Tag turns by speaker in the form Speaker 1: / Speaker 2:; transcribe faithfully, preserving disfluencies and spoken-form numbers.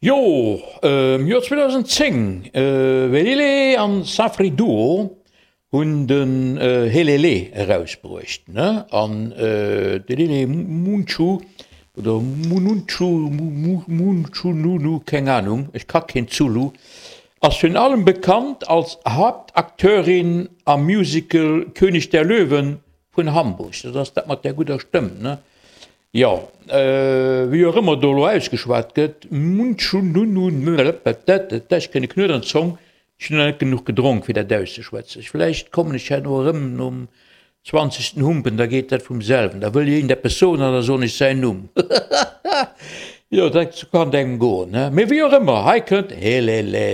Speaker 1: Jo, am Joer zweedausendzéng, Welele an Safri Duo hunn den Helele erausbruecht, ne? An de Lele Munchu oder Mununchu, Munchununu, keng Anung, ech ka keen Zulu, ass virun allem bekannt als Haaptakteurin am Musical König der Löwen vun Hamburg. Dat ass dat mat där gudder Stëmm, ne? Jo, wéi och ëmmer do elo ausgeschwat gëtt, Ech kréien e Knuet an d'Zong, ech hunn nach net genuch gedronk fir dat auszeschwätzen. Vläicht kommen ech herno erëm nom zwanzegsten Humpen, da geet dat vum selwen. Da wëll iergend eppes soen an da soen ech säin Numm. Jo, dat kann et engem goen, ne? Mee wéi och ëmmer, hei kënnt Helele.